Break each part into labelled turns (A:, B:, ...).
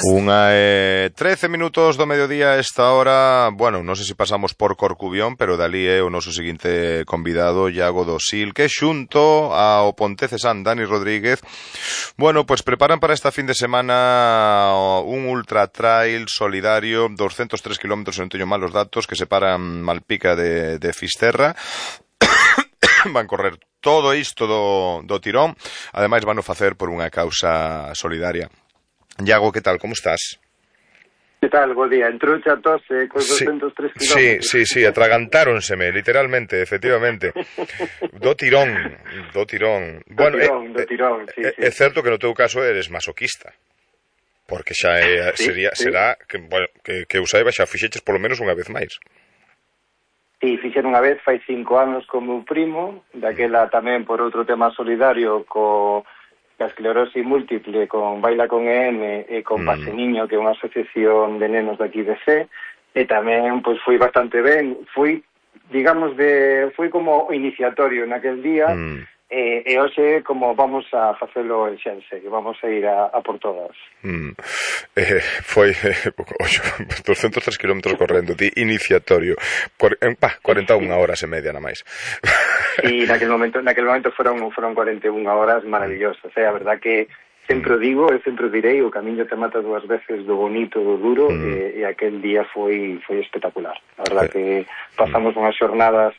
A: Unha 13 minutos do mediodía a esta hora. Bueno, non sei se pasamos por Corcubión, pero dali é o noso seguinte convidado, Iago Dosil, que xunto ao Pontecesán Dani Rodríguez, bueno, pues preparan para esta fin de semana un ultra trail solidario, 203 kilómetros, non teño malos datos, que separan Malpica de Fisterra. Van correr todo isto do tirón. Ademais, van o facer por unha causa solidaria. Iago, que tal? Como estás?
B: Que tal? Bo día. Entrouche a tose con 203 kilómetros.
A: Sí, atragantáronseme, literalmente, efectivamente. Do tirón. Bueno,
B: do tirón, sí.
A: É certo que no teu caso eres masoquista. Porque xa será que, bueno, que eu saiba xa fixeches polo menos unha vez máis.
B: Sí, fixen unha vez, fai 5 anos con meu primo, daquela tamén por outro tema solidario co a esclerosis múltiple, con Baila con EN e con Pase Niño, que é unha asociación de nenos daqui de C, e tamén pois foi bastante ben, fui como iniciatorio naquel día, e hoxe como vamos a facelo en Xense, que vamos a ir a por todas.
A: Foi 203 kilómetros correndo, ti iniciatorio, 41 horas e media na máis.
B: E naquel momento foron 41 horas maravillosas, a verdad que sempre o digo e sempre o direi, o camiño te mata 2 veces do bonito, do duro, e aquel día foi espectacular. A verdad que pasamos unhas xornadas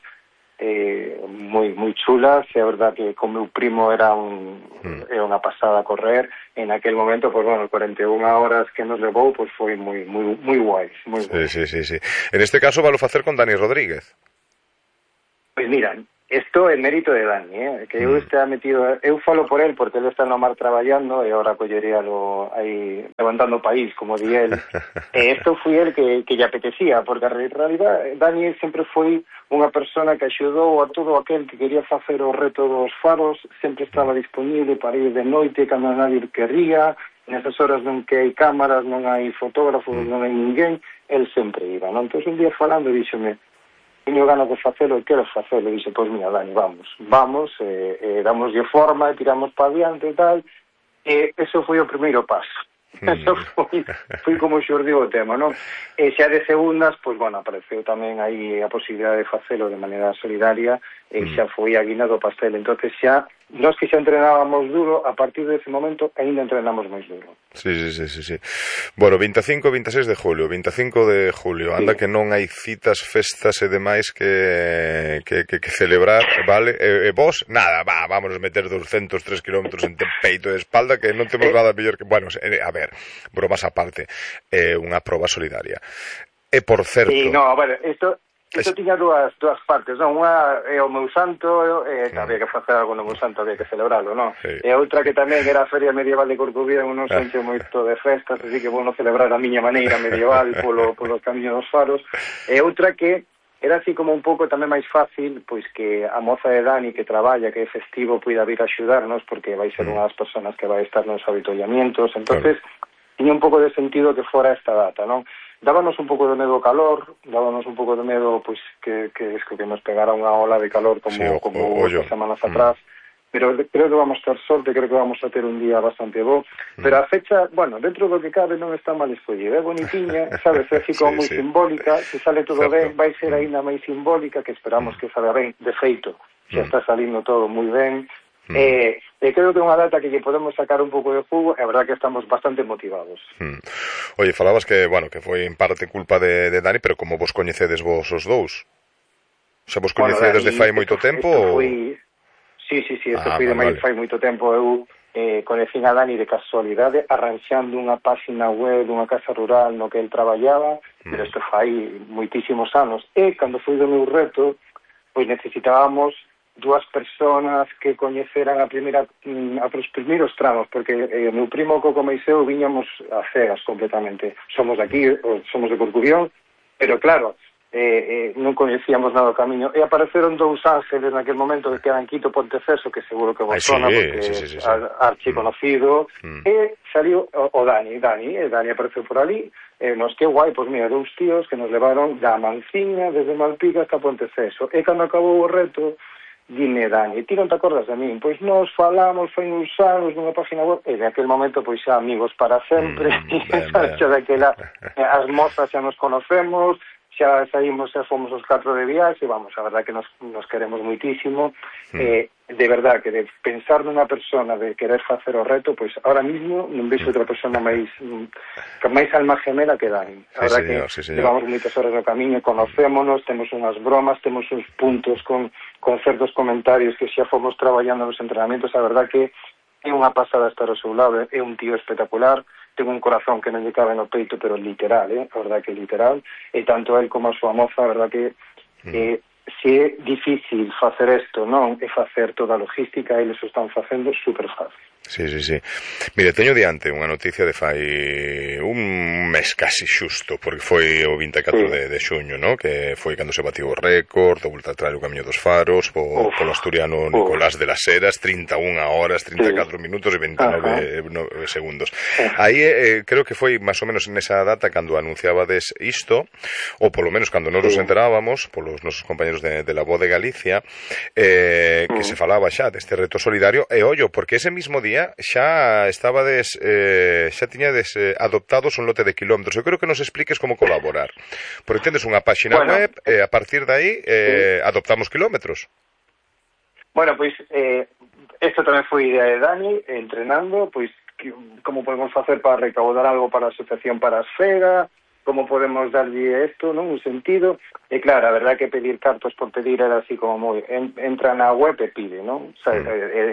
B: moi chulas, e a verdad que con meu primo era unha pasada a correr, en aquel momento, pues bueno, 41 horas que nos levou, pues foi moi guai, moi guai.
A: Sí. En este caso valo facer con Dani Rodríguez.
B: Pois mira, isto é mérito de Dani, que eu estea metido, eu falo por él porque ele está no mar traballando e agora colleríalo aí levantando o país, como di él. E isto foi el que lle apetecía, porque a realidad Dani sempre foi unha persona que axudou a todo aquel que quería facer o reto dos faros, sempre estaba disponible para ir de noite cando nadie querría, nesas horas non que hai cámaras, non hai fotógrafos, non hai ninguén, el sempre iba, non? Entón un día falando díxome, teño ganas de facelo e quero facelo, e dixe, pois mira, Dani, vamos, damoslle forma e tiramos para adiante e tal, e eso foi o primeiro paso. Eso foi como xurdiu o tema, non? E xa de segundas, pois, bueno, apareceu tamén aí a posibilidade de facelo de maneira solidaria e xa foi a guina do pastel. Entonces xa, nós que xa entrenábamos duro, a partir dese momento ainda entrenamos máis duro.
A: Sí. Bueno, 25 e 26 de julio, 25 de julio, anda que non hai citas, festas e demais que celebrar, vale? E vos, nada, vámonos meter 203 kilómetros en peito e espalda, que non temos nada mellor que... Bueno, a ver, bromas aparte, unha proba solidaria. E por certo...
B: Sí, no, bueno, isto tiña dúas partes, non? Unha é o meu santo, había que facer algo no meu santo, había que celebralo, non?
A: Sí.
B: E outra que tamén era a Feria Medieval de Corcubión, non xente moito de festas, así que vou celebrar a miña maneira medieval polo camiño dos faros. E outra que era así como un pouco tamén máis fácil, pois que a moza de Dani que traballa, que é festivo, puida vir a axudarnos, porque vai ser unha das persoas que vai estar nos avituallamientos, entonces tiña un pouco de sentido que fora esta data, non? Dábanos un pouco de medo o calor, dábanos un pouco de medo pois que nos pegara unha ola de calor como outras semanas atrás, pero creo que vamos ter sorte, creo que vamos a ter un día bastante bo, pero a fecha, bueno, dentro do que cabe non está mal escollida, é bonitiña, sabes, é así como moi simbólica, se sale todo ben, vai ser aínda máis simbólica, que esperamos que salga ben, de feito, xa está salindo todo moi ben, e creo que é unha data que lle podemos sacar un pouco de jugo, e a verdad que estamos bastante motivados.
A: Oye, falabas que, bueno, que foi en parte culpa de Dani, pero como vos coñecedes vos os dous? Xa vos coñecedes de fai moito tempo?
B: Sí, isto foi de fai moito tempo. Eu conhecín a Dani de casualidade arranxando unha página web dunha casa rural no que el traballaba, pero isto fai moitísimos anos, e cando foi do meu reto, pois necesitábamos 2 personas que coñeceran os primeiros tramos, porque o meu primo Coco Meiseu viñamos a cegas completamente. Somos aquí, somos de Corcubión, pero claro, non coñecíamos nada do camiño, e apareceron 2 ángeles naquel momento que quedan Quito Ponteceso, que seguro que vos sona, porque é archiconocido, e saliu o Dani apareceu por ali, e nos que guai, pois mira, 2 tíos que nos levaron da Manciña desde Malpica hasta Ponteceso, e cando acabou o reto, dime, Dani, ti non te acordas de min? Pois nos falamos, foi uns anos nunha página web, e de aquel momento, pois xa amigos para sempre, xa daquela, as mozas xa nos conocemos, xa saímos, xa fomos os 4 de viaxe, vamos, a verdad que nos queremos moitísimo, de verdad que de pensar nunha persona de querer facer o reto, pois ahora mismo non vexo outra persona máis alma gemela que Dani. A verdad que levamos moitas horas no camiño, conocémonos, temos unhas bromas, temos uns puntos con certos comentarios que xa fomos traballando nos entrenamientos, a verdad que é unha pasada estar ao seu lado, é un tío espectacular, ten un corazón que non lle cabe no peito, pero literal, a verdad que literal, e tanto el como a súa moza, a verdad que se é difícil facer isto, non? E facer toda a logística, eles o están facendo super fácil.
A: Sí. Mire, teño diante unha noticia de fai un mes casi xusto, porque foi o 24 de xuño, ¿no? Que foi cando se batiu o récord do Volta Trail o Camiño dos Faros polo asturiano Nicolás de las Heras, 31 horas, 34 minutos e 29 segundos. Aí creo que foi máis ou menos nesa data cando anunciabades isto, ou polo menos cando nos enterábamos polos nosos compañeros de La Voz de Galicia, que se falaba xa deste reto solidario, e ollo, porque ese mismo día xa estabades, xa tiñades adoptados un lote de kilómetros. Eu creo que nos expliques como colaborar. Porque tendes unha páxina web e a partir de aí adoptamos kilómetros.
B: Bueno, pois isto tamén foi idea de Dani, entrenando, pois como podemos facer para recaudar algo para a Asociación Parasfera, como podemos darlle isto, non? Un sentido. E claro, a verdade que pedir cartos por pedir era así como moi... Entra na web e pide, non? O sea,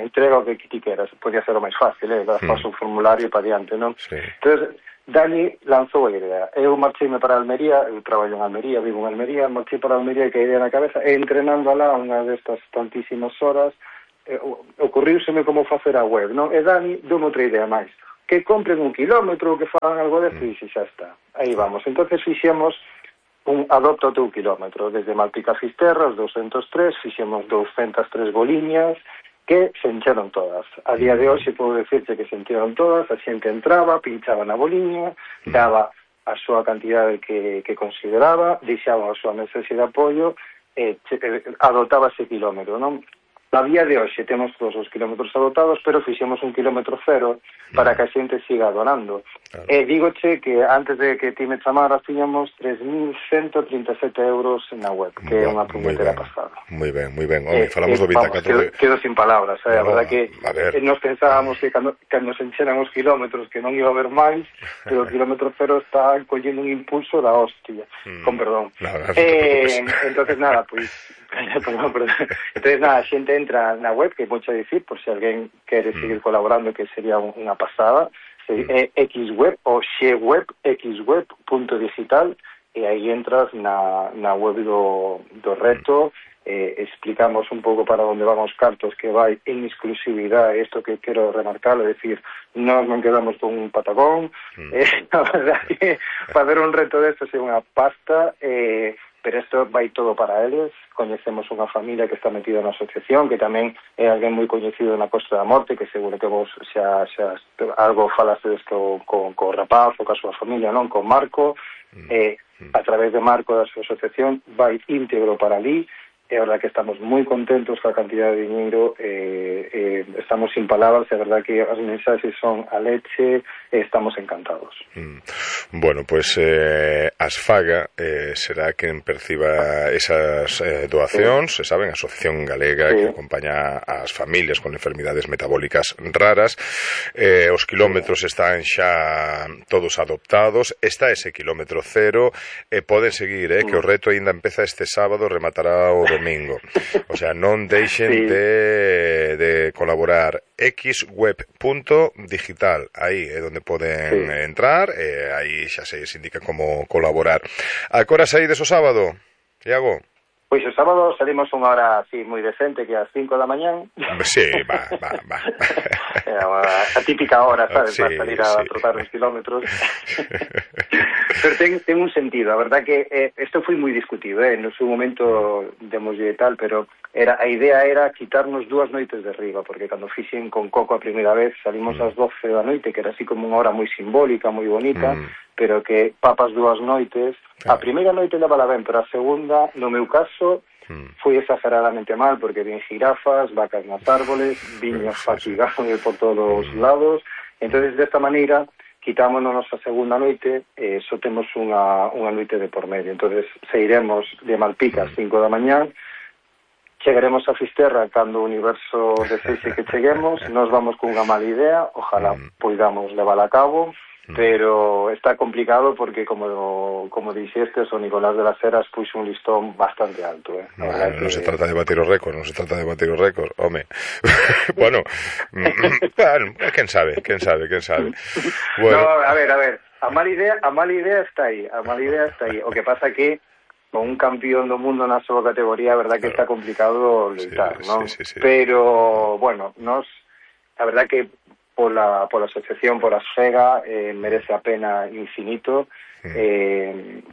B: entrega o que ti queras. Podía ser o máis fácil, paso o formulario para diante, non? Entón, Dani lanzou a idea. Eu marcheime para Almería, eu traballo en Almería, vivo en Almería, marchei para Almería e que a idea na cabeza, e entrenando alá unha destas tantísimas horas, ocurriuseme como facer a web, non? E Dani dou outra idea máis. Que compren 1 kilómetro, que fagan algo de eso, e xa está. Aí vamos. Entonces fixemos un adopta o teu kilómetro. Desde Malpica a Fisterra, os 203, fixemos 203 boliñas, que se encheron todas. A día de hoxe podo decirte que se encheron todas, a xente entraba, pinchaba na boliña, daba a súa cantidade que consideraba, deixaba a súa mensaxe de apoio, adoptaba ese kilómetro, non? A día de hoxe temos todos os kilómetros adotados, pero fixemos 1 kilómetro cero para que a xente siga donando. E dígoche que antes de que ti me chamaras tiñamos 3.137 euros na web, que é unha puñetera pasada.
A: Moi ben. Falamos do 24.
B: Quedo sin palabras, a verdade que nos pensábamos que cando se encheran os kilómetros que non iba a haber máis, pero o kilómetro cero está collendo un impulso da hostia, con perdón. Entonces nada, pois entonces nada, a xente entra na web, que é moito a dicir, por se alguén quere seguir colaborando, que sería unha pasada, xweb ou xweb, xweb.digital, e aí entras na web do reto, explicamos un pouco para onde van os cartos, que vai en exclusividade, isto que quero remarcar, é dicir, nós non quedamos con un patagón, a verdade que facer un reto destes é unha pasta, pero isto vai todo para eles. Coñecemos unha familia que está metida na asociación, que tamén é alguén moi coñecido na Costa da Morte, que seguro que vos xa algo falastedes co rapaz ou ca súa familia, non? Con Marco, a través de Marco da súa asociación vai íntegro para ali, e a verdad que estamos moi contentos coa cantidad de dinheiro, estamos sin palabras, e a verdad que as mensaxes son a leche, e estamos encantados.
A: Bueno, pues Asfaga será quen perciba esas doacións, saben, a Asociación Galega que acompaña ás familias con enfermidades metabólicas raras. Os kilómetros están xa todos adoptados, está ese kilómetro cero, poden seguir, que o reto aínda empeza este sábado, rematará o domingo. O sea, non deixen de colaborar. xweb.digital, aí é onde poden entrar, aí xa se indica como colaborar. A que hora saídes o sábado, Iago?
B: Pois o sábado salimos unha hora así moi decente, que ás 5 da mañán.
A: Sí, va.
B: A típica hora, sabes, para salir a trotar uns kilómetros. Pero ten un sentido, a verdad que isto foi moi discutido, no seu momento demoslle tal, pero a idea era quitarnos 2 noites de riba, porque cando fixen con Coco a primeira vez salimos ás 12 da noite, que era así como unha hora moi simbólica, moi bonita, pero que papas 2 noites. A primeira noite levala ben, pero a segunda, no meu caso, Fui exageradamente mal porque vi jirafas, vacas nas árboles, viños fatigados por todos os lados. Entonces, desta maneira, quitámonos a segunda noite e só temos unha noite de por medio. Entonces, sairemos de Malpica ás 5 da mañán, chegaremos a Fisterra cando o universo deseixe que cheguemos, nos vamos cunha mala idea, ojalá poidamos levar a cabo, pero está complicado porque, como dixestes, o Nicolás de las Heras puxo un listón bastante alto.
A: Non se trata de batir os récords, home. Bueno, quen sabe. Bueno.
B: No, a ver, a mala idea está aí, O que pasa que con un campeón do mundo na súa categoría, a verdad que está complicado lutar, non?
A: Sí.
B: Pero, bueno, a verdad que pola asociación, por Asfega, merece a pena infinito,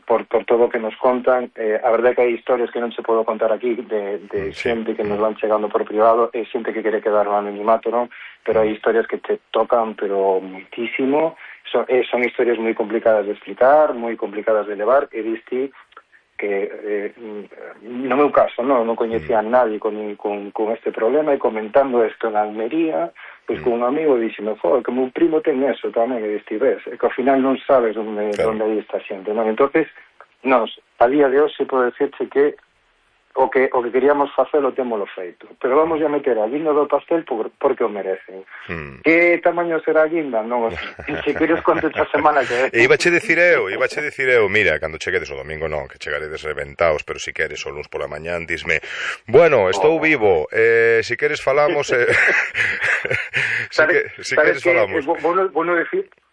B: por todo o que nos contan. A verdad que hai historias que non se podo contar aquí de xente que nos van chegando por privado, e xente que quere quedar no anonimato, non? Pero hai historias que te tocan, pero muitísimo. Son historias moi complicadas de explicar, moi complicadas de levar, e diste que no meu caso non coñecía a nadie con este problema, e comentando isto en Almería, pois con un amigo dixeme, que meu primo ten eso tamén, e estives, e que ao final non sabes onde hai esta xente, non? Entonces, a día de hoxe podo decirche que o que queríamos facer o témolo feito, pero vamos a meter a guinda do pastel porque o merecen. Que tamaño será a guinda? Non, se queres conto esta semana que...
A: Ibache dicir eu, mira, cando cheguedes o domingo non, que chegaredes reventaos, pero si queres o luns pola mañán, disme, bueno, estou vivo, si queres falamos... si queres falamos...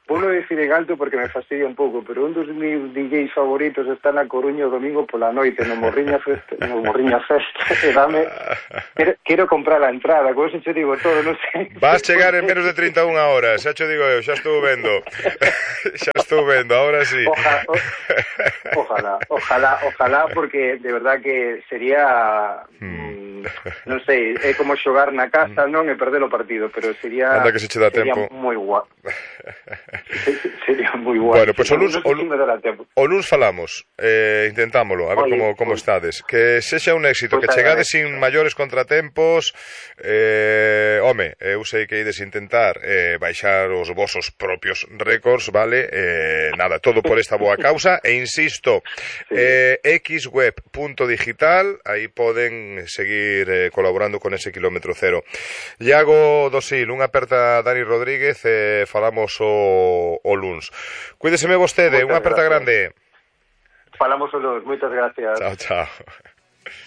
B: Vou non dicir en alto porque me fastidia un pouco, pero un dos meus DJs favoritos está na Coruña o domingo pola noite no Morriña Fest, e dame... Quero comprar a entrada, como se che digo todo, non sei...
A: Vas chegar en menos de 31 horas, xa che digo eu, xa estou vendo, ahora sí.
B: Ojalá, porque de verdad que sería... non sei, é como xogar na casa, non, e perder o partido, pero sería...
A: Anda que se che dá tempo.
B: Sería moi guapo. Sería moi guai.
A: Bueno, pois o luns falamos, intentámolo, a ver como estades. Que sexa un éxito, que chegades sin maiores contratempos. Home, eu sei que ides intentar baixar os vosos propios récords, vale? Nada, todo por esta boa causa, e insisto, xweb.digital, aí poden seguir colaborando con ese kilómetro cero. Iago Dosil, unha aperta a Dani Rodríguez, falamos o luns. Cuídeseme vostede, unha aperta grande.
B: Falamos o luns, moitas gracias.
A: Chao.